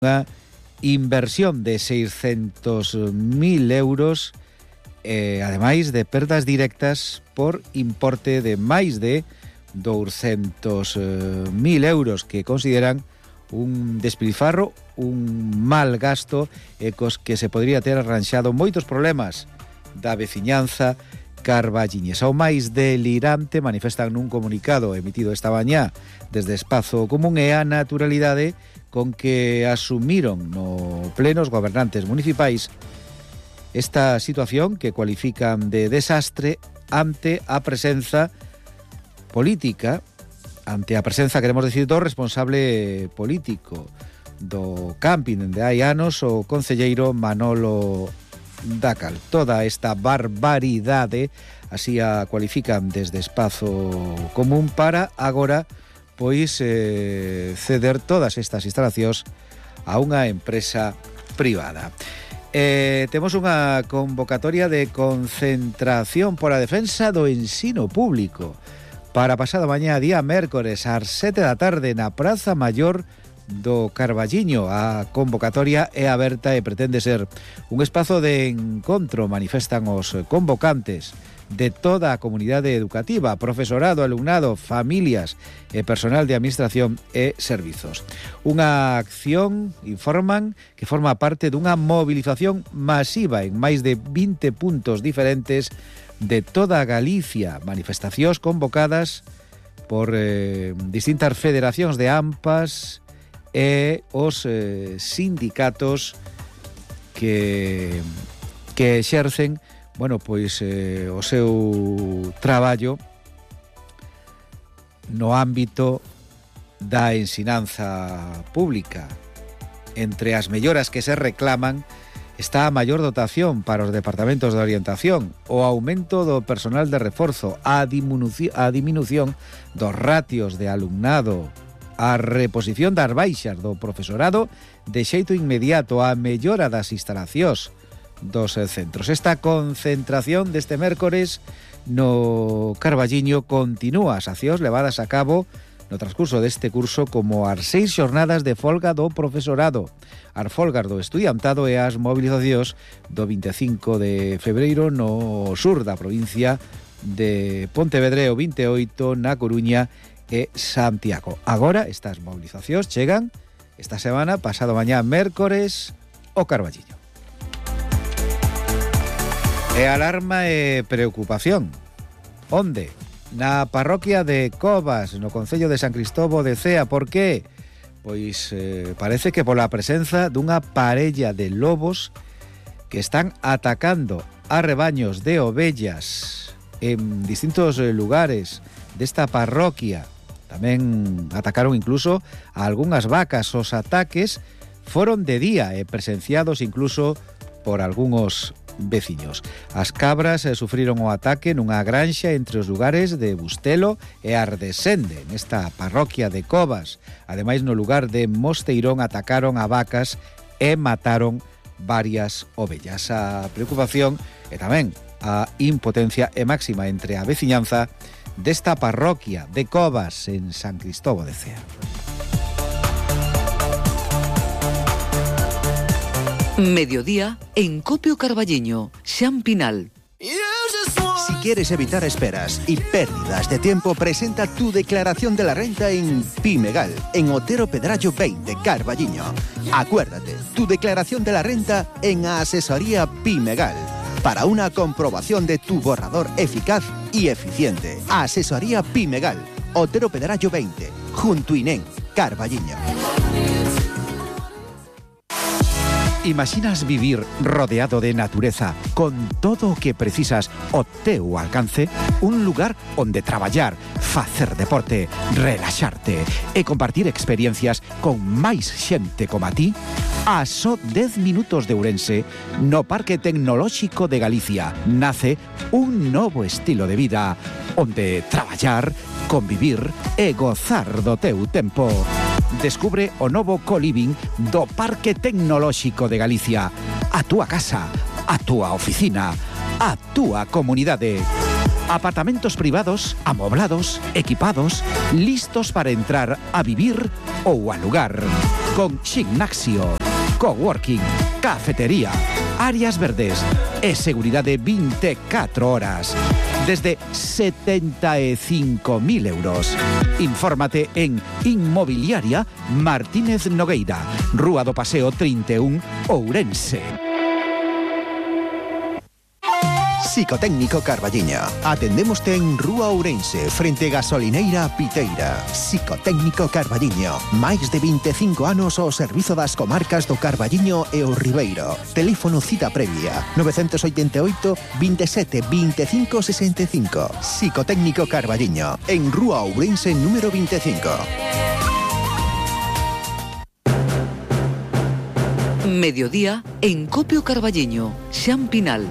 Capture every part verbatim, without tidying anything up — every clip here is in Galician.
Unha inversión de seiscentos mil euros, eh, ademais de perdas directas por importe de máis de douscentos mil euros, que consideran un despilfarro, un mal gasto, e cos que se podría ter arranxado moitos problemas da veciñanza carballiñesa. O máis delirante, manifestan nun comunicado emitido esta mañá desde Espazo Común, é a naturalidade con que asumiron no pleno os gobernantes municipais esta situación que cualifican de desastre ante a presenza política, ante a presenza, queremos decir, do responsable político do camping de hai anos, o concelleiro Manolo Dacal. Toda esta barbaridade así a cualifican desde Espazo Común para agora pois eh, ceder todas estas instalacións a unha empresa privada. Eh, temos unha convocatoria de concentración por a defensa do ensino público para pasado mañá, día mércores, ás sete da tarde na Praza Maior do Carballiño. A convocatoria é aberta e pretende ser un espazo de encontro, manifestan os convocantes, de toda a comunidade educativa, profesorado, alumnado, familias e personal de administración e servizos. Unha acción, informan, que forma parte dunha movilización masiva en máis de vinte puntos diferentes de toda Galicia, manifestacións convocadas por eh, distintas federacións de AMPAs e os eh, sindicatos que, que exercen bueno, pois eh, o seu traballo no ámbito da ensinanza pública. Entre as melloras que se reclaman está a maior dotación para os departamentos de orientación, o aumento do personal de reforzo, a diminución, a diminución dos ratios de alumnado, a reposición das baixas do profesorado de xeito inmediato, a mellora das instalacións dos centros. Esta concentración deste mércores no Carballiño continúa as accións levadas a cabo no transcurso deste curso, como as seis xornadas de folga do profesorado, as folgas do estudiantado e as movilizacións do vinte e cinco de febreiro no sur da provincia de Pontevedra, o vinte e oito na Coruña e Santiago. Agora estas movilizacións chegan esta semana, pasado mañá mércores, ao Carballiño. E alarma e preocupación. Onde? Na parroquia de Covas, no concello de San Cristóbal de Cea. Por qué? Pois eh, parece que pola presenza dunha parella de lobos que están atacando a rebaños de ovellas en distintos lugares desta parroquia. Tamén atacaron incluso a algunhas vacas. Os ataques foron de día e presenciados incluso por algúns veciños. As cabras eh, sufriron o ataque nunha granxa entre os lugares de Bustelo e Ardesende, nesta parroquia de Covas. Ademais, no lugar de Mosteirón atacaron a vacas e mataron varias ovellas. A preocupación e tamén a impotencia é máxima entre a veciñanza desta parroquia de Covas en San Cristóbal de Cea. Mediodía en Copio Carballiño, Xan Pinal. Si quieres evitar esperas y pérdidas de tiempo, presenta tu declaración de la renta en Pimegal, en Otero Pedrallo veinte, Carballiño. Acuérdate, tu declaración de la renta en Asesoría Pimegal, para una comprobación de tu borrador eficaz y eficiente. Asesoría Pimegal, Otero Pedrallo veinte, junto Inén, Carballiño. Imaginas vivir rodeado de natureza, con todo o que precisas ao teu alcance? Un lugar onde traballar, facer deporte, relaxarte e compartir experiencias con máis xente como a ti? A só dez minutos de Ourense, no Parque Tecnolóxico de Galicia, nace un novo estilo de vida, onde traballar, convivir e gozar do teu tempo. Descubre o novo co-living do Parque Tecnolóxico de Galicia. A túa casa, a túa oficina, a túa comunidade. Apartamentos privados, amoblados, equipados, listos para entrar a vivir ou alugar. con gimnasio, coworking, cafetería, áreas verdes e seguridade vinte e catro horas. Desde setenta e cinco mil euros. Infórmate en Inmobiliaria Martínez Nogueira, Rúa do Paseo trinta e un, Ourense. Psicotécnico Carballiño. Atendémoste en Rúa Ourense, frente Gasolineira Piteira. Psicotécnico Carballiño. Máis de vinte e cinco anos ao servizo das comarcas do Carballiño e o Ribeiro. Teléfono cita previa nove oito oito, veintisiete, veinticinco sesenta e cinco. Psicotécnico Carballiño, en Rúa Ourense número veinticinco. Mediodía en Copio Carballiño, Xan Pinal.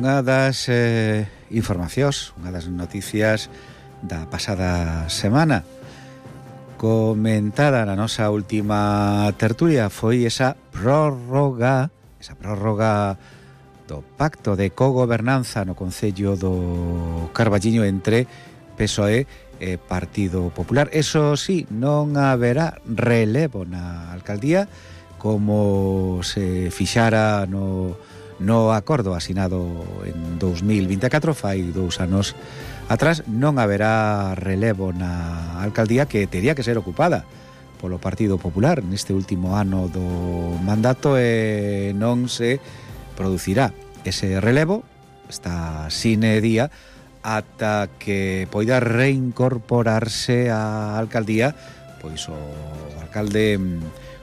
Unha das eh, informacións, unha das noticias da pasada semana comentada na nosa última tertulia foi esa prórroga, esa prórroga do pacto de cogobernanza no Concello do Carballiño entre P S O E e Partido Popular. Eso sí, non haberá relevo na alcaldía como se fixara no No acordo asinado en dous mil vinte e catro, fai dous anos atrás, non haberá relevo na alcaldía que tería que ser ocupada polo Partido Popular neste último ano do mandato e non se producirá ese relevo, está sine día, ata que poida reincorporarse á alcaldía pois o alcalde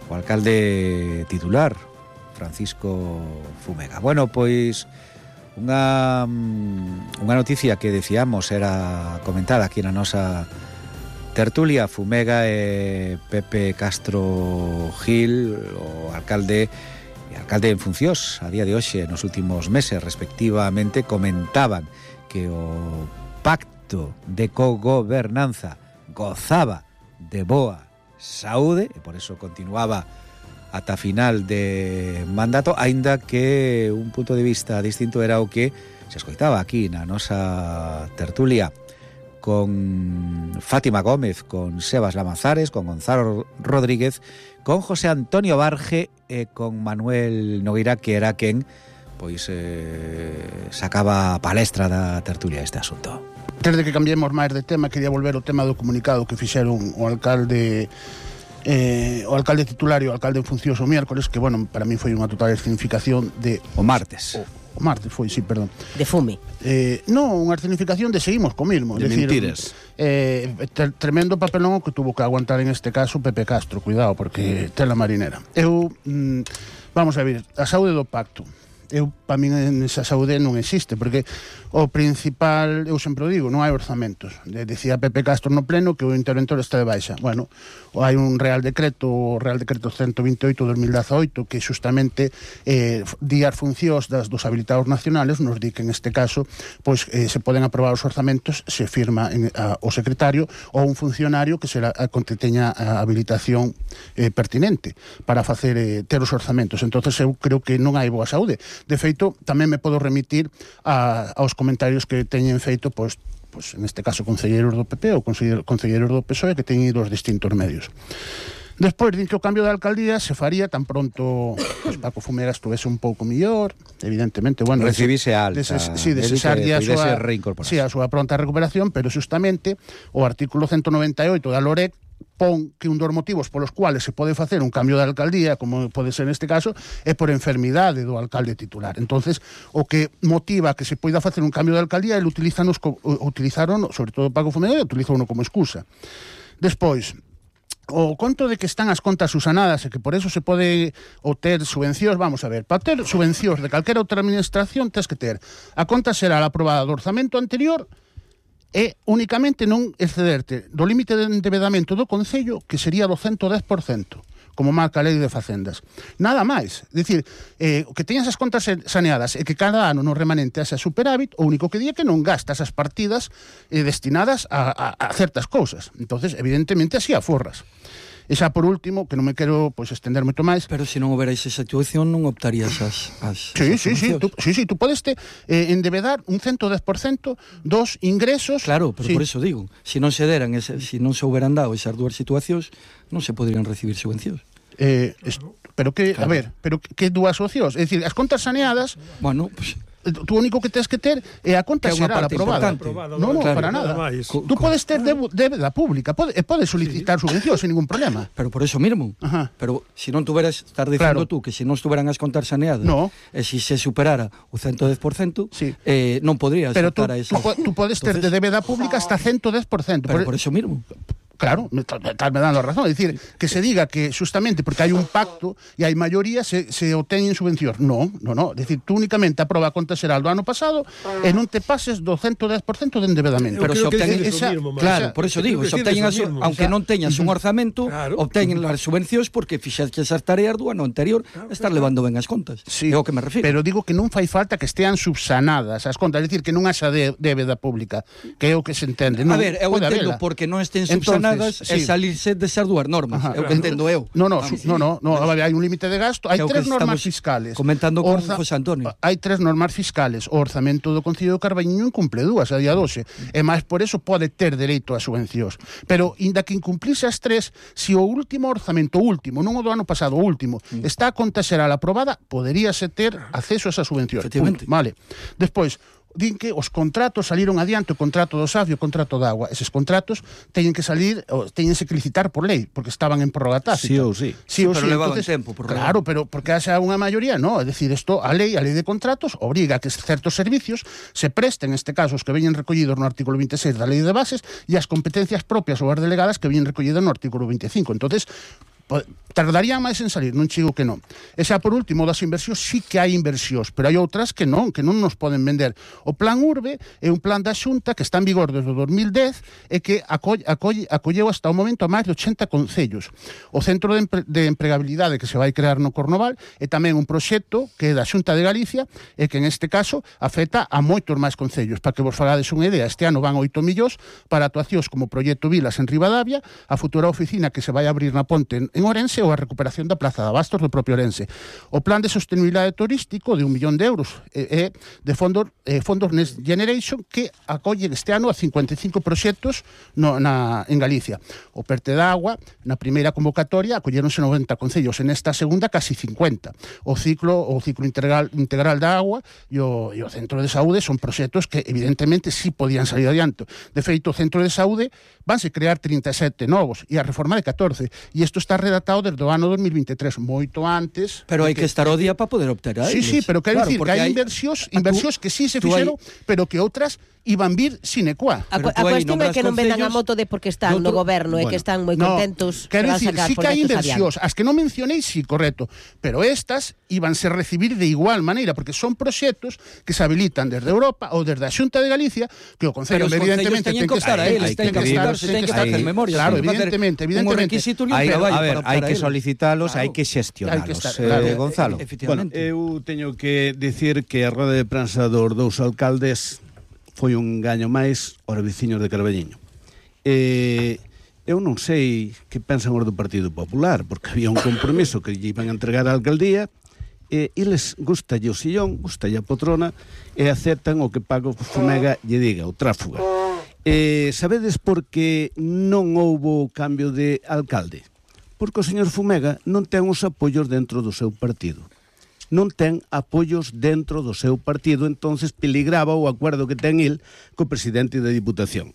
o alcalde titular, Francisco Fumega. Bueno, pois unha unha noticia que decíamos era comentada aquí na nosa tertulia. Fumega e Pepe Castro Gil, o alcalde e alcalde en funcións a día de hoxe, nos últimos meses respectivamente, comentaban que o pacto de cogobernanza gozaba de boa saúde e por eso continuaba ata final de mandato, aínda que un punto de vista distinto era o que se escoitaba aquí na nosa tertulia con Fátima Gómez, con Sebas Lamazares, con Gonzalo Rodríguez, con José Antonio Barge e con Manuel Nogueira, que era quen pois eh, sacaba a palestra da tertulia este asunto. Desde que cambiemos máis de tema, quería volver ao tema do comunicado que fixeron o alcalde Eh, o alcalde titular e o alcalde en funcións o miércoles, que, bueno, para mí foi unha total escenificación de... O martes. O, o martes foi, sí, perdón. De fume. Eh, non, unha escenificación de seguimos co mismo. De decir, mentiras. Eh, ter, tremendo papelón que tuvo que aguantar en este caso Pepe Castro, cuidado, porque tela marinera. Eu, mm, vamos a ver, a saúde do pacto. Eu, para min, esa saúde non existe, porque o principal, eu sempre o digo, non hai orzamentos. De, decía Pepe Castro no pleno que o interventor está de baixa. Bueno, hai un Real Decreto, o Real Decreto ciento veintiocho de dos mil dezaoito, que xustamente eh, di as funcións das, dos habilitados nacionales, nos di que en este caso pois, eh, se poden aprobar os orzamentos, se firma en, a, o secretario ou un funcionario que será a, que teña a habilitación eh, pertinente para facer eh, ter os orzamentos. Entonces eu creo que non hai boa saúde. De feito, tamén me podo remitir a, aos comentarios que teñen feito, pois, pois en este caso, concelleiros do P P ou concelleiros do P S O E que teñen ido aos distintos medios. Despois, din que o cambio da alcaldía se faría tan pronto pois, Paco Fumega estuvese un pouco mellor, evidentemente, bueno, recibise alta, deses, sí, desesarlle a súa, sí, a súa pronta recuperación, pero xustamente o artículo ciento noventa e oito da LOREC pon que un dos motivos polos cuales se pode facer un cambio de alcaldía, como pode ser neste caso, é por enfermidade do alcalde titular. Entonces, o que motiva que se poida facer un cambio de alcaldía, ele utilizaron, utilizaron sobre todo Paco Fumega, utilizaron como excusa. Despois, o conto de que están as contas susanadas e que por eso se pode obter subvencións, vamos a ver, para ter subvencións de calquera outra administración tens que ter a conta será a aprobada do orzamento anterior e únicamente non excederte do límite de endevedamento do Concello, que sería do ciento dez por cento, como marca a Lei de Facendas. Nada máis. É dicir, eh, que teñas as contas saneadas e que cada ano no remanente haxa superávit, o único que di é que non gastas as partidas eh, destinadas a, a, a certas cousas. Entonces, evidentemente, así aforras. E xa por último, que non me quero pois estender moito máis. Pero se non houbera esa situación non optarías as, as Sí, as sí, sí, tú, sí, sí, tú podes te, eh, endevedar un ciento dez por cento dos ingresos. Claro, pero sí. por eso digo, se non se deran, ese, se non se houberan dado esas dúas situacións, non se poderían recibir subvencións. Eh, es, pero que, Claro. a ver, pero que dúas opcións? É dicir, as contas saneadas, Bueno, pues, tú único que tens que ter é a conta Que é unha xeral parte aprobada. importante. Non, non, Claro. para nada. Nada máis. Tú podes ter debu- débeda pública, pode, e podes solicitar subvencións sin ningún problema. pero por eso mismo. Ajá. Pero se non tuveras, estar dicindo Claro. tú que se non estuveran as contas saneadas, No. e se se superara o ciento dez por cento, Sí. eh, non podrías Pero tú, optar a tú, esa. po- tú podes ter de Entonces, débeda pública hasta ciento dez por ciento. pero por eso mismo. Claro, me, tal, tal me dan a razón. É dicir, que se diga que justamente porque hai un pacto e hai maioría se, se obteñen subvencións. Non, non, non. É dicir, tú únicamente aproba a conta xeral do ano pasado e non te pases do ciento dez por ciento de endebedamento. Pero creo se que obteñen dices esa- o mismo, Max. Claro, Esa- por eso Eu digo, creo se que obteñen dices as, o mismo. aunque non teñas un orzamento, Claro. obteñen as subvencións porque fixaches as tareas do ano anterior, estar levando ben as contas. Sí, É o que me refiro. pero digo que non fai falta que estean subsanadas as contas, é dicir, que non haxa de, débeda pública, que é o que se entende. A Non, ver, eu pode entendo habela. porque non estén Entonces, subsanadas é sí. salirse desas dúas normas. Ajá. É o que entendo eu. No, no, Vamos. su, no, no, no, a ver, hai un límite de gasto, hai Que é o tres que normas estamos fiscales. comentando con Orza- José Antonio. Hai tres normas fiscales. O orzamento do Concello de Carballiño incumple dúas a día doce. E máis por eso pode ter dereito a subvencións. Pero, inda que incumplise as tres, se o último orzamento, o último, non o do ano pasado, o último, Mm. está a conta xeral aprobada, poderíase ter acceso a esa subvención. Efectivamente. Punto. Vale. Despois, din que os contratos saliron adiante, o contrato do Safio, o contrato da agua. Eses contratos teñen que salir, ou teñense que licitar por lei, porque estaban en prórroga tácita. Sí ou sí. Sí ou Pero sí, levaban entonces, tempo, por claro, pero porque haxa unha maioría, no, é dicir, isto, a lei, a lei de contratos obriga a que certos servicios se presten, neste caso, os que veñen recollidos no artículo veintiséis da lei de bases e as competencias propias ou as delegadas que veñen recollidas no artículo veinticinco. Entonces, po- tardaría máis en salir, non chigo que non. E xa por último, das inversións, sí que hai inversións, pero hai outras que non, que non nos poden vender. O Plan Urbe é un plan da Xunta que está en vigor desde o dos mil dez e que acolle, acolle, acolleu hasta o momento a máis de ochenta concellos. O Centro de, Empre de Empregabilidade que se vai crear no Cornoval é tamén un proxecto que é da Xunta de Galicia e que en este caso afecta a moitos máis concellos. Para que vos fagades unha idea, este ano van oito millóns para actuacións como o proxecto Vilas en Ribadavia, a futura oficina que se vai abrir na Ponte en Orense ou a recuperación da Plaza de Abastos do propio Orense. O plan de sostenibilidade turístico de un millón de euros é eh, de fondos, eh, fondos Next Generation que acollen este ano a cincuenta e cinco proxectos no, na, en Galicia. O Perte da Agua, na primeira convocatoria, acolleronse noventa concellos, en esta segunda casi cincuenta. O ciclo o ciclo integral, integral da agua e o, e o Centro de Saúde son proxectos que evidentemente sí podían salir adiante. De feito, o Centro de Saúde vanse crear trinta e sete novos e a reforma de catorce. E isto está redactado desde o ano dos mil vinte e tres, moito antes. Pero hai que estar ao día para poder optar a Sí, eles. sí, pero quero Claro, dicir que porque hai inversións, a tú- inversións que sí se tú hai- fixeron, pero que outras iban vir sine qua. A, Pero cu- a tú aí cuestión é nombras que non vendan a concellos moto de porque están no doutro- goberno e que Bueno, están moi no, contentos quero que van dicir, sacar sí que hai proxectos inversións, adiante. as que non mencionei, sí, correcto, pero estas íbanse recibir de igual maneira, porque son proxectos que se habilitan desde Europa ou desde a Xunta de Galicia, que o Concello Pero os evidentemente concellos teñen ten que que estar a eles, hai teñen que que apuntarse, estar- teñen que hai- facer memoria. claro, teñen que facer evidentemente, un evidentemente. requisito e un Hai, traballo a ver, para hai optar que a eles. solicitalos, Claro. hai que xestionalos. Hai que estar, eh, claro. Gonzalo. Bueno, Efectivamente. eu teño que dicir que a roda de prensa dos dous alcaldes foi un gaño máis aos veciños de Carballiño. Eh, eu non sei que pensan os do Partido Popular, porque había un compromiso que lle iban a entregar á alcaldía, e eles gustalle o sillón, gustalle a poltrona, e aceptan o que Paco Fumega lle diga, o tráfuga. Eh, sabedes por que non houbo cambio de alcalde? Porque o señor Fumega non ten os apoios dentro do seu partido. Non ten apoios dentro do seu partido, entonces peligraba o acordo que ten el co presidente da Diputación.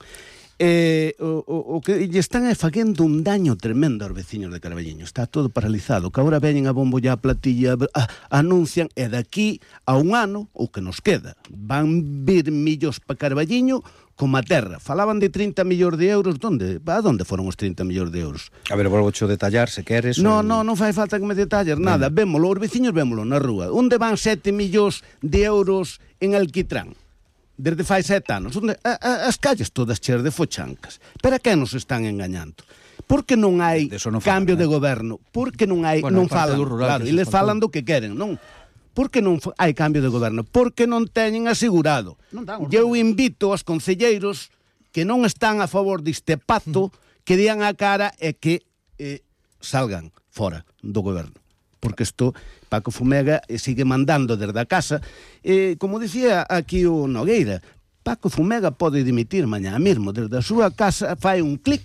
Eh, o, o, o que lle están é facendo un daño tremendo aos veciños de Carballiño. Está todo paralizado, que agora veñen a bombo ya a platilla, a, anuncian, e daqui a un ano, o que nos queda, van vir millos para Carballiño como a terra. Falaban de trinta millóns de euros, donde? A donde foron os trinta millóns de euros? A ver, volvo a detallar, se queres. No, ou- no, non fai falta que me detalles nada. Vémolo, os veciños vémolo na rúa. Onde van sete millóns de euros en alquitrán? Desde fai sete anos. Onde? A, a, as calles todas cheas de fochancas. Pero a que nos están engañando? Por que non hai De eso non falan, cambio eh? de goberno? Por que non hai, Bueno, non a parte falan? do rural, Claro, que eles se faltou. falan do que queren, non? Por que non fa- hai cambio de goberno? Porque non teñen asegurado. Non dan os Eu invito aos concelleiros que non están a favor deste pacto que dian a cara e que eh, salgan fora do goberno. Porque isto, Paco Fumega sigue mandando desde a casa. E, como dicía aquí o Nogueira, Paco Fumega pode dimitir mañá mesmo desde a súa casa, fai un clic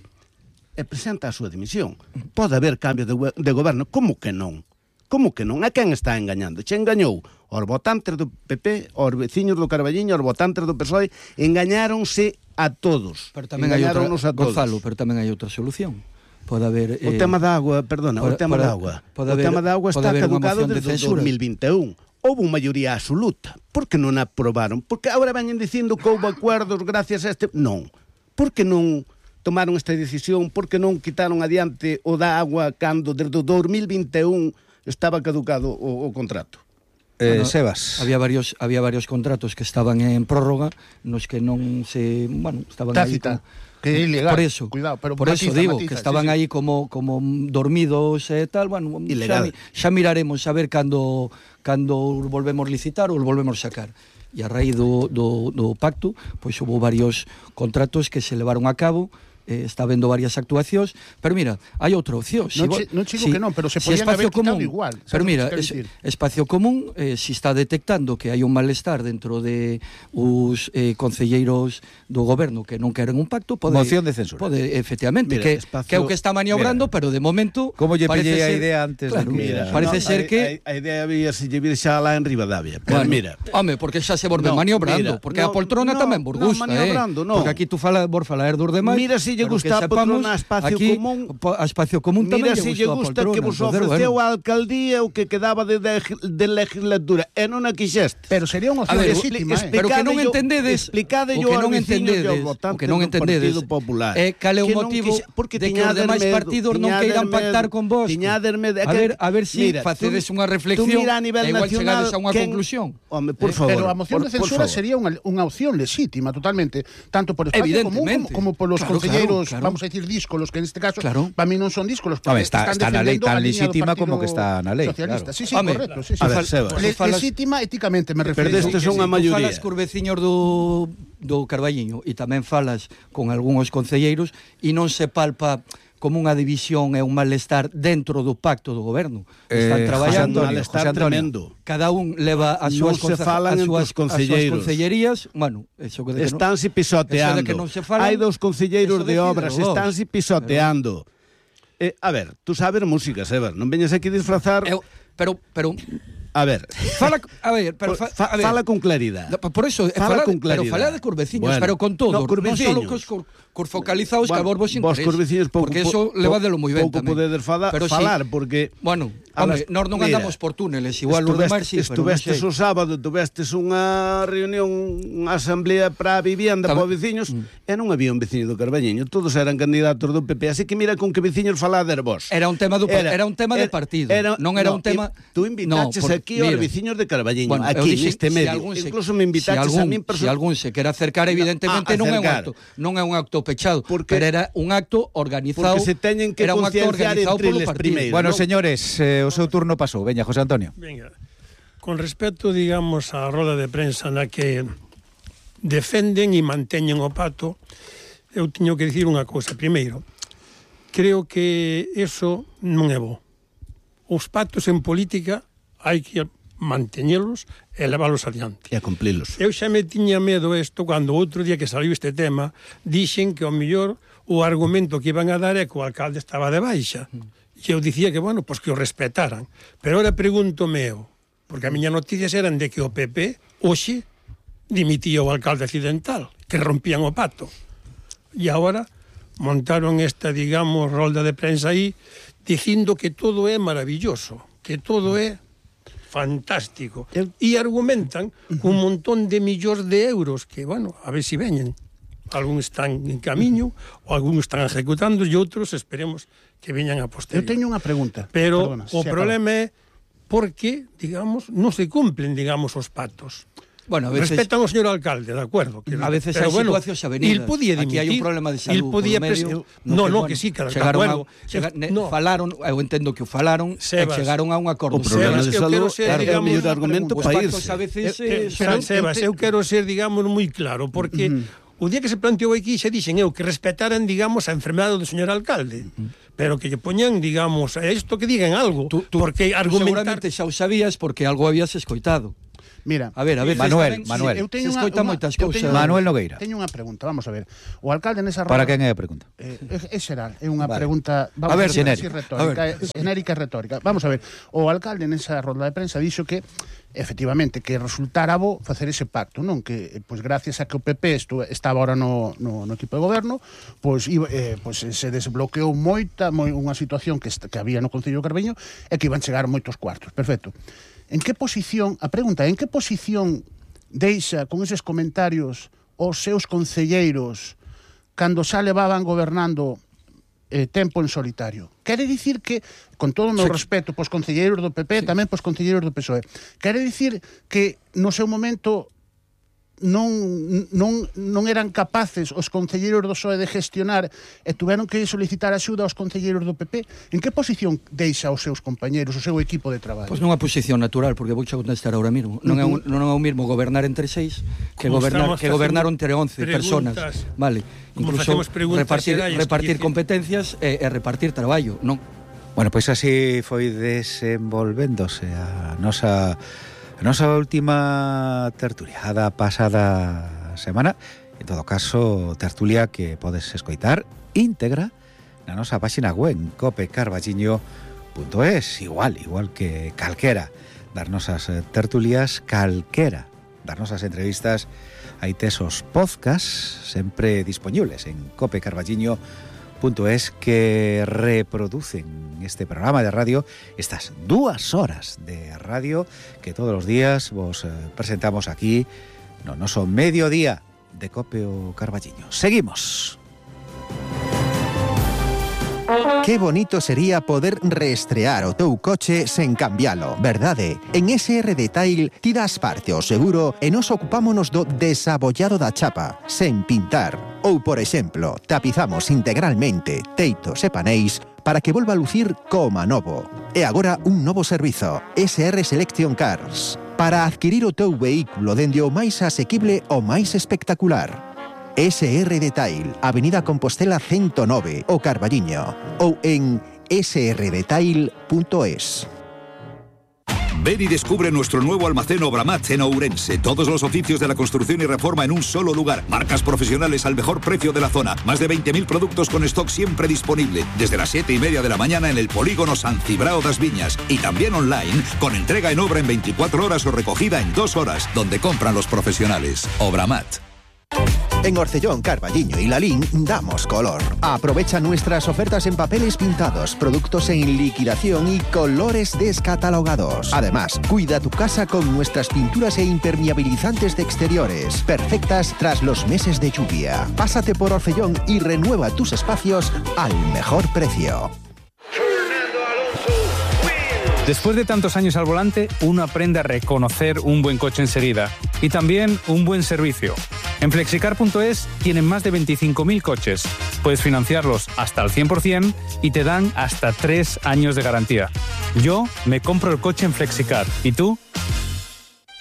e presenta a súa dimisión. Pode haber cambio de, de goberno. Como que non? Como que non? A quen está engañando? Che engañou aos votantes do P P, aos veciños do Carballiño, aos votantes do P S O E, engañáronse a todos. Pero tamén hai outra, Gonzalo, pero tamén hai outra solución. Pode haber... O eh, tema da agua, perdona, pode, o tema da agua. O haber, tema da agua está caducado desde o dos mil vinte e un. Houve unha maioría absoluta. Por que non aprobaron? Porque agora veñen dicindo que houve acuerdos gracias a este... Non. Por que non tomaron esta decisión? Por que non quitaron adiante o da agua cando desde o dos mil vinte e un estaba caducado o, o contrato? Eh, bueno, Sebas. Había varios había varios contratos que estaban en prórroga, nos que non se, bueno, estaban Tácita. aí como, que é ilegal. Por eso, cuidado, pero por matiza, eso digo matiza, que estaban sí, sí. aí como como dormidos e tal, bueno, ilegal. Xa, xa miraremos a ver cando cando volvemos licitar ou volvemos sacar. E a raíz do, do, do pacto, pois hubo varios contratos que se levaron a cabo. Eh, está vendo varias actuacións, pero mira, hai outra opción. Non si, che, non si, chigo que non, pero se si podían haber común, quitado igual. Pero mira, es, espacio común, eh, si está detectando que hai un malestar dentro de os eh, concelleiros do goberno que non queren un pacto, pode... Moción de censura. Pode, efectivamente, mira, que, espacio, que é o que está maniobrando, mira, pero de momento... Como lle pillei a ser, idea antes claro, de que... Mira, parece no, ser a, que... A, a idea había se lle vir xa lá en Rivadavia. Pero bueno, mira... Home, porque xa se volve no, maniobrando, mira, porque no, a poltrona no, tamén vos gusta, no, maniobrando, eh? No. Porque aquí tú fala, vos falar dos demais... Mira si lle gusta a poltrona a espacio aquí, común. A espacio común tamén mira si lle gusta poltrona, que vos joder, ofreceu bueno. a alcaldía o que quedaba de, de, de legislatura e non a quixeste. Pero sería unha opción ver, legítima, eh? pero que non entendedes, explicade o yo que non aos veciños entendedes, e aos votantes o que non do entendedes, Partido Popular. É cal é o que motivo quise, porque de que os demais medo, partidos non queiran pactar con vos. Medo, a ver, a ver si mira, facedes tú, unha reflexión e igual chegades a unha quen, conclusión. Home, por eh, favor. Pero a moción por, de censura sería unha, unha opción legítima totalmente, tanto por espacio común como, como por los claro, concelleiros, claro, claro. vamos a decir díscolos, que en este caso claro. para mí non son díscolos, Home, porque está, están está na lei tan defendendo a liña do legítima Partido como que está na lei. Socialista. Claro. Sí, sí, Home, correcto. Sí, sí. a ver, Sebas. Le, falas, legítima éticamente me refiero. Pero destes son a maioría. Falas cos veciños do, do Carballiño e tamén falas con algúns concelleiros e non se palpa como unha división e un malestar dentro do pacto do goberno. Están Eh, traballando, José Antonio, malestar José Antonio. tremendo. cada un leva as Non súas, se conce- falan as entre súas, os concelleiros. as súas concellerías, bueno, eso que de que Estánse no, pisoteando. eso de que non se falan, Hai dous concelleiros eso de decídelo obras, vos. estánse pisoteando. Eh, a ver, tú sabes música, Sebas, non veñas aquí disfrazar... Eu, pero, pero, A ver, fala, a ver, pero fa, fa, a ver, fala con claridade. por eso, Fala fala, con pero claridade. fala de cos veciños, Bueno, pero con todo, no, cos non só veciños. cos, cos, cos focalizados Bueno, que a vos vos vos interesa. cos veciños pouco, porque eso po, leva de lo moi ben pouco tamén. podedes fada, Pero falar, sí, porque... bueno, a home, las- nós non mira, andamos por túneles, igual os demais sí, pero non estuvestes sei. o sábado, tuvestes unha reunión, unha asamblea para a vivienda Tam- para os veciños, mm. e non había un veciño do Carballiño, todos eran candidatos do P P, así que mira con que veciños falader vos. Era un tema do era, era un tema era, de partido, era, non era no, un tema. Tú invitaches no, por, aquí aos veciños de Carballiño, bueno, aquí dixen, neste medio. Si algún se, Incluso me invitaches si algún, a min perso- si algún se quere acercar, evidentemente a, non é un acercar. acto, non é un acto pechado, Porque, pero era un acto organizado. porque se teñen que era un acto concienciar organizado entre polo eles partido. primeiro. Bueno, non? señores, eh, o seu turno pasou. Veña, José Antonio. Venga, con respecto, digamos, á roda de prensa na que defenden e manteñen o pacto, eu teño que dicir unha cousa. Primeiro, creo que eso non é bo. Os pactos en política hai que manteñelos e leválos adiante. E a cumplilos. Eu xa me tiña medo isto cando outro día que saliu este tema dixen que ao mellor o argumento que iban a dar é que o alcalde estaba de baixa. E eu dicía que, bueno, pois que o respetaran. Pero ahora pregúntome eu, porque a miña noticias eran de que o P P hoxe dimitía o alcalde accidental, que rompían o pacto. E agora montaron esta, digamos, rolda de prensa aí dicindo que todo é maravilloso, que todo é fantástico. E argumentan un montón de millóns de euros que, bueno, a ver si veñen. Algúns están en camiño, ou algúns están ejecutando, e outros esperemos que veñan a posterior. Eu teño unha pregunta. Pero Perdona, o se problema é porque, digamos, non se cumplen, digamos, os pactos. Bueno, a veces, respetan ao señor alcalde, de acuerdo. Que, a veces pero hai bueno, situacións avenidas. Il podía dimitir. Aquí hai un problema de salud Il podía por medio. pres... No, no, bueno, que sí, que de chegaron acuerdo. a, chega, ne, no. falaron, eu entendo que o falaron, Sebas, e chegaron a un acordo. O problema Sebas, de eu salud quero ser, é o digamos, mellor argumento Os para pactos irse. a veces Eh, eh, eh, pero, son- Sebas, eu quero ser, digamos, moi claro, porque uh -huh. o día que se planteou aquí xa dixen eu que respetaran, digamos, a enfermedade do señor alcalde. Uh -huh. pero que lle poñan, digamos, a isto que digan algo, Tú, tú, porque tú argumentar... seguramente xa o sabías porque algo habías escoitado. Mira, A ver, a ver, Manuel, tamén, Manuel. se, eu teño se unha- escoitan unha- moitas eu cousas. teño- Manuel Nogueira. Teño unha pregunta, vamos a ver. O alcalde nesa Para roda... quen é a pregunta? Eh, é, é xeral, é unha Vale. pregunta vamos A ver, decir así, xenérica. retórica, A ver. é, xenérica e retórica. Vamos a ver, o alcalde nesa roda de prensa dixo que efectivamente que resultara bo facer ese pacto, non que pois gracias a que o P P estu, estaba ahora no, no, no equipo de goberno, pois iba, eh, pois se desbloqueou moita moi, unha situación que, est, que había no Concello de Carballiño e que iban chegar moitos cuartos. Perfecto. En que posición, a pregunta, en que posición deixa con eses comentarios os seus concelleiros cando xa levaban gobernando eh, tempo en solitario? Quere dicir que, con todo o meu Sí. respeto pos concelleiros do P P, sí. tamén pos concelleiros do P S O E, quere dicir que no seu momento non, non, non eran capaces os concelleiros do P S O E de gestionar e tuveron que solicitar axuda aos concelleiros do P P? En que posición deixa os seus compañeros, o seu equipo de traballo? Pois nunha posición natural, porque vou xa contestar ahora mesmo. Non é un, non é o mesmo gobernar entre seis que Como gobernar estamos que gobernar entre once preguntas, personas. Vale. como Incluso facemos preguntas repartir xerais, repartir que dicir- competencias e, e repartir traballo, non? Bueno, pois así foi desenvolvéndose a nosa a nosa última tertulia da pasada semana. En todo caso, tertulia que podes escoitar íntegra na nosa páxina web cope carballiño punto es, igual, igual que calquera das nosas tertulias, calquera das nosas entrevistas. Hai tesos podcasts sempre disponibles en cope carballiño punto es que reproducen este programa de radio, estas dúas horas de radio que todos los días vos eh, presentamos aquí no noso mediodía de Cope o Carballiño. Seguimos. Qué bonito sería poder reestrear o teu coche sen cambialo, verdade? En S R Detail ti das parte ao seguro e nos ocupámonos do desabollado da chapa, sen pintar. Ou, por exemplo, tapizamos integralmente teitos e paneis para que volva a lucir como novo. E agora un novo servizo, S R Selection Cars, para adquirir o teu vehículo dende o máis asequible ao máis espectacular. S R Detail, Avenida Compostela ciento nove, o Carballiño, ou en s r detail punto es. Ven y descubre nuestro nuevo almacén Obramat en Ourense. Todos los oficios de la construcción y reforma en un solo lugar. Marcas profesionales al mejor precio de la zona. Más de veinte mil productos con stock siempre disponible. Desde las siete y media de la mañana en el polígono San Cibrao das Viñas. Y también online, con entrega en obra en veinticuatro horas o recogida en dos horas, donde compran los profesionales. Obramat. En Orcellón, Carballiño y Lalín damos color. Aprovecha nuestras ofertas en papeles pintados, productos en liquidación y colores descatalogados. Además, cuida tu casa con nuestras pinturas e impermeabilizantes de exteriores, perfectas tras los meses de lluvia. Pásate por Orcellón y renueva tus espacios al mejor precio. Después de tantos años al volante, uno aprende a reconocer un buen coche enseguida y también un buen servicio. En flexicar punto es tienen más de veinticinco mil coches. Puedes financiarlos hasta al cien por cien y te dan hasta tres años de garantía. Yo me compro el coche en Flexicar. ¿Y tú?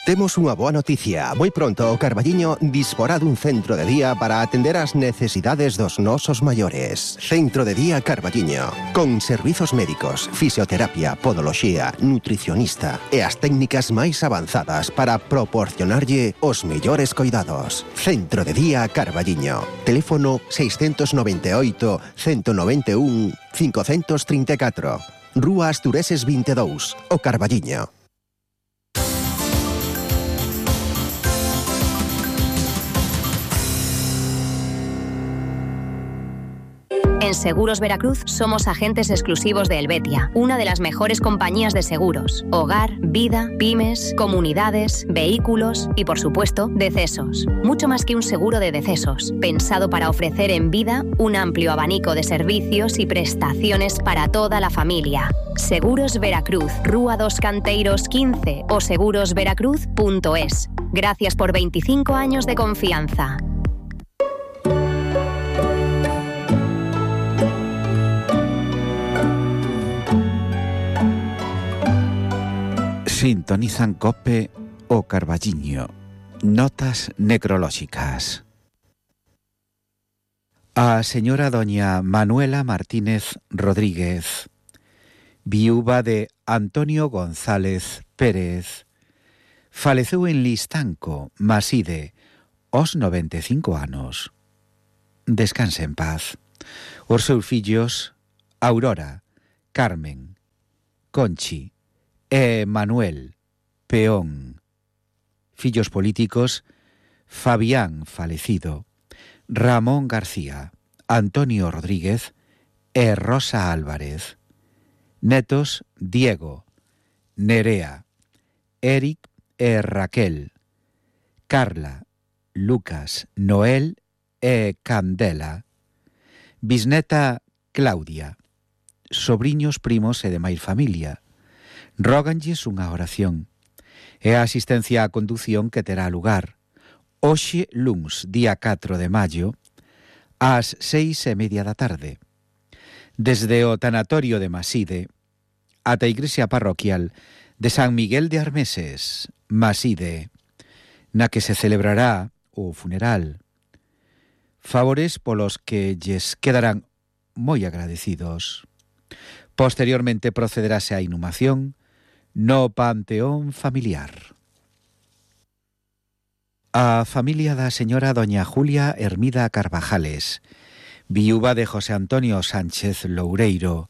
Temos unha boa noticia. Moi pronto o Carballiño disporá dun centro de día para atender as necesidades dos nosos maiores. Centro de Día Carballiño, con servizos médicos, fisioterapia, podoloxía, nutricionista e as técnicas máis avanzadas para proporcionarlle os mellores coidados. Centro de Día Carballiño. Teléfono seiscentos noventa e oito, ciento noventa e un, quinhentos trinta e catro. Rúa Astureses vinte e dous, o Carballiño. En Seguros Veracruz somos agentes exclusivos de Helvetia, una de las mejores compañías de seguros. Hogar, vida, pymes, comunidades, vehículos y, por supuesto, decesos. Mucho más que un seguro de decesos, pensado para ofrecer en vida un amplio abanico de servicios y prestaciones para toda la familia. Seguros Veracruz, Rúa dos Canteiros quince o seguros veracruz punto es. Gracias por veinticinco años de confianza. Sintonizan Cope o Carballiño. Notas necrolóxicas. A señora doña Manuela Martínez Rodríguez, viúva de Antonio González Pérez, faleceu en Listanco, Maside, aos noventa e cinco anos. Descanse en paz. Os seus fillos, Aurora, Carmen, Conchi e Manuel, Peón. Fillos políticos, Fabián, falecido, Ramón García, Antonio Rodríguez e Rosa Álvarez. Netos, Diego, Nerea, Eric e Raquel, Carla, Lucas, Noel e Candela. Bisneta, Claudia. Sobriños, primos e demais familia. Róganlles unha oración. E a asistencia á condución que terá lugar hoxe, luns, día catro de maio, ás seis e media da tarde. Desde o tanatorio de Maside ata a igrexa parroquial de San Miguel de Armeses, Maside, na que se celebrará o funeral. Favores polos que lles quedarán moi agradecidos. Posteriormente procederase á inhumación no panteón familiar. A familia da señora doña Julia Hermida Carvajales, viúva de José Antonio Sánchez Loureiro,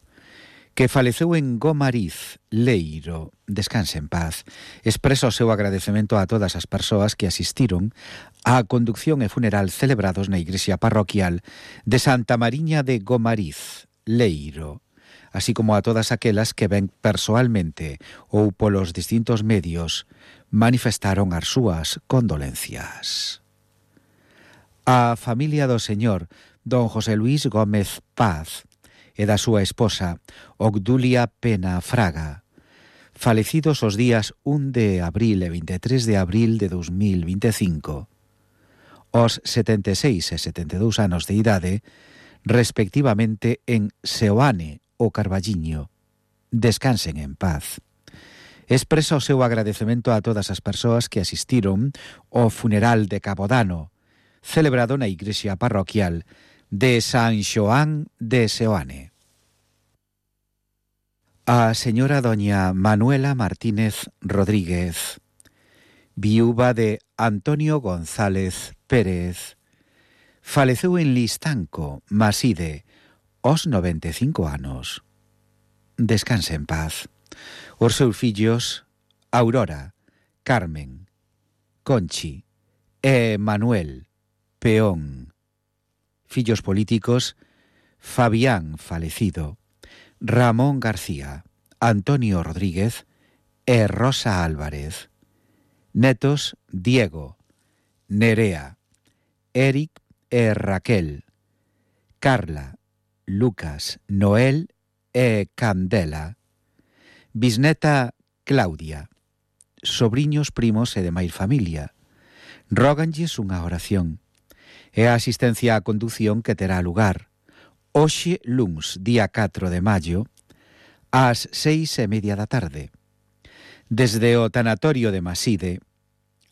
que faleceu en Gomariz, Leiro, descanse en paz, expresa o seu agradecemento a todas as persoas que asistiron á conducción e funeral celebrados na igrexa parroquial de Santa Mariña de Gomariz, Leiro, así como a todas aquelas que ven persoalmente ou polos distintos medios manifestaron as súas condolencias. A familia do señor don José Luis Gómez Paz e da súa esposa Obdulia Pena Fraga, falecidos os días un de abril e vinte e tres de abril de dos mil vinte e cinco, os setenta e seis e setenta e dous anos de idade, respectivamente en Seoane o Carballiño. Descansen en paz. Expresa o seu agradecemento a todas as persoas que asistiron ao funeral de Cabodano, celebrado na igrexa parroquial de San Xoán de Seoane. A señora doña Manuela Martínez Rodríguez, viúva de Antonio González Pérez, faleceu en Listanco, Maside, aos noventa e cinco anos. Descanse en paz. Os seus fillos, Aurora, Carmen, Conchi e Manuel, Peón. Fillos políticos, Fabián, falecido, Ramón García, Antonio Rodríguez e Rosa Álvarez. Netos, Diego, Nerea, Eric e Raquel, Carla, Lucas, Noel e Candela. Bisneta, Claudia. Sobriños, primos e demais familia. Róganlles unha oración. E a asistencia á condución que terá lugar hoxe, luns, día catro de maio, ás seis e media da tarde. Desde o tanatorio de Maside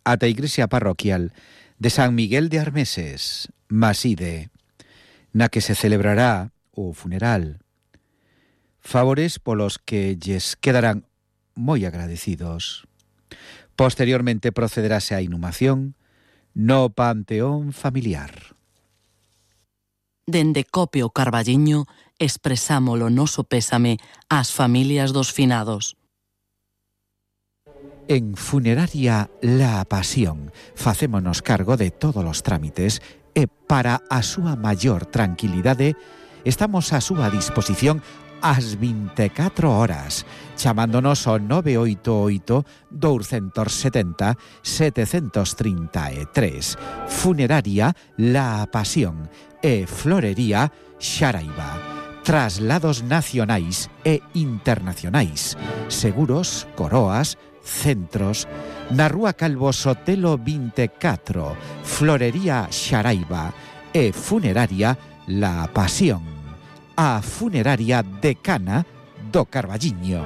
ata a igrexa parroquial de San Miguel de Armeses, Maside, na que se celebrará o funeral. Favores polos que lles quedarán moi agradecidos. Posteriormente procederase á inhumación no panteón familiar. Dende Copio Carballiño expresamos o noso pésame ás familias dos finados. En Funeraria La Pasión facémonos cargo de todos os trámites e para a súa maior tranquilidade estamos á súa disposición ás vinte e catro horas, chamándonos ao nove oito oito, dous sete zero, sete tres tres. Funeraria La Pasión e Florería Xaraiba. Traslados nacionais e internacionais. Seguros, coroas, centros. Na Rúa Calvo Sotelo vinte e catro. Florería Xaraiba e Funeraria La Pasión. A funeraria decana do Carballiño.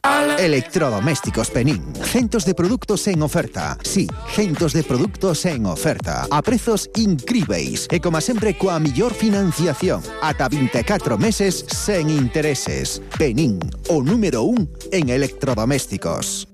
All Electrodomésticos Penín. Centos de produtos en oferta. Sí, centos de produtos en oferta. A prezos incríveis. E como sempre, coa millor financiación. Ata vinte e catro meses sen intereses. Penín, o número un en electrodomésticos.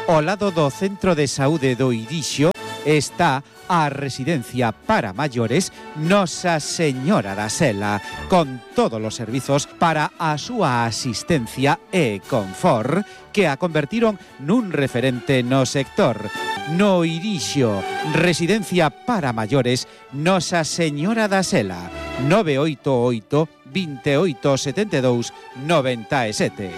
Ao lado do Centro de Saúde do Irixo está a residencia para maiores Nosa Señora da Sela, con todos os servizos para a súa asistencia e confort que a convertiron nun referente no sector. No Irixo, residencia para maiores Nosa Señora da Sela, nove oito oito, veintioito setenta e dous, noventa e sete.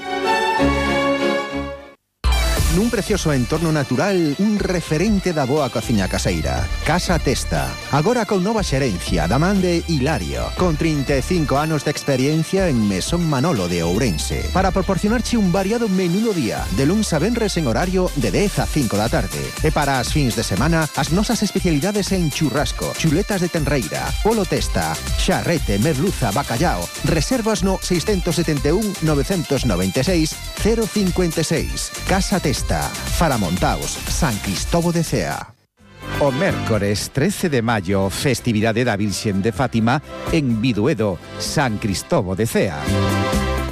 Nun precioso entorno natural, un referente da boa cociña caseira. Casa Testa. Agora con nova xerencia da man de Hilario, con trinta e cinco anos de experiencia en Mesón Manolo de Ourense, para proporcionarche un variado menú do día, de luns a venres en horario de dez a cinco da tarde. E para as fins de semana, as nosas especialidades en churrasco, chuletas de tenreira, polo testa, xarrete, merluza, bacallao. Reservas no seis sete un, nove nove seis, cero cinco seis. Casa Testa. Faramontaos, San Cristóbal de Cea. O mércores trece de maio, festividade da Virxen de Fátima en Biduedo, San Cristóbal de Cea.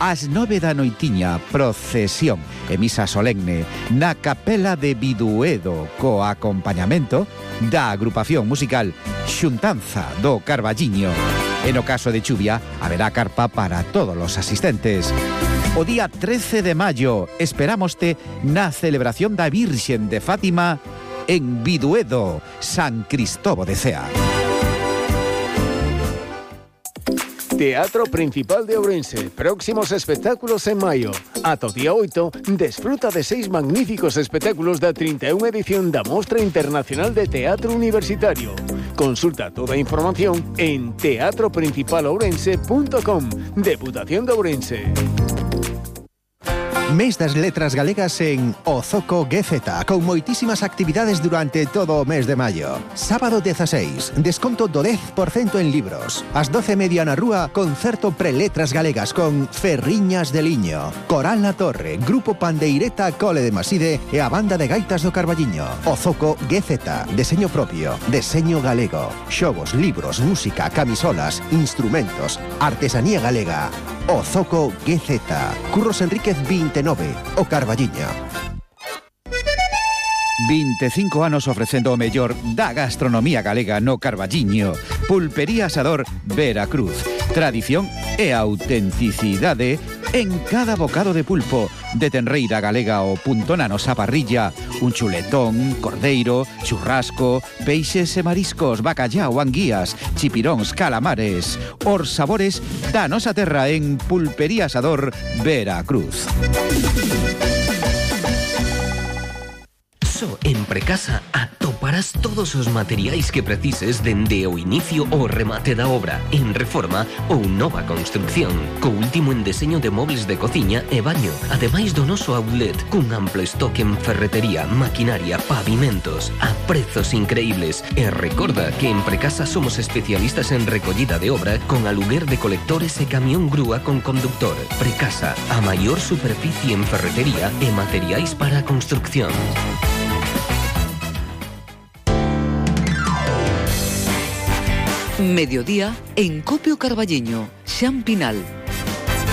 Ás nove da noitiña, procesión e misa solemne na capela de Biduedo, co acompañamento da agrupación musical Xuntanza do Carballiño. E no caso de chuvia, haberá carpa para todos os asistentes. O día trece de maio esperámoste na celebración da Virxen de Fátima en Biduedo, San Cristóbal de Cea. Teatro Principal de Ourense. Próximos espectáculos en maio. Ata o día oito, desfruta de seis magníficos espectáculos da trinta e unha edición da Mostra Internacional de Teatro Universitario. Consulta toda a información en teatro principal ourense punto com. Deputación de Ourense. Mes das letras galegas en Ozoco G Z, con moitísimas actividades durante todo o mes de maio. Sábado dieciséis, desconto do dez por cento en libros. Ás doce e media na rúa, concerto pre-letras galegas con Ferriñas de Liño, Coral na Torre, Grupo Pandeireta Cole de Maside e a Banda de Gaitas do Carballiño. Ozoco G Z, deseño propio, deseño galego. Xogos, libros, música, camisolas, instrumentos, artesanía galega. Ozoco G Z. Curros Enríquez veintinueve, o Carballiño. vinte e cinco anos ofrecendo o mellor da gastronomía galega no Carballiño. Pulpería Asador Veracruz. Tradición e autenticidade en cada bocado de pulpo, de tenreira galega o punto na nosa parrilla, un chuletón, cordeiro, churrasco, peixes e mariscos, bacallao, anguías, chipiróns, calamares, os sabores da nosa terra en Pulpería Asador Veracruz. Só en Precasa atoparás todos os materiais que precises dende o inicio ao remate da obra, en reforma ou nova construcción, co último en deseño de mobles de cociña e baño, ademais do noso outlet, cun amplo estoque en ferretería, maquinaria, pavimentos, a prezos increíbles. E recorda que en Precasa somos especialistas en recollida de obra con aluguer de colectores e camión grúa con conductor. Precasa, a maior superficie en ferretería e materiais para a construcción. Mediodía en Copio Carballiño, Xan Pinal.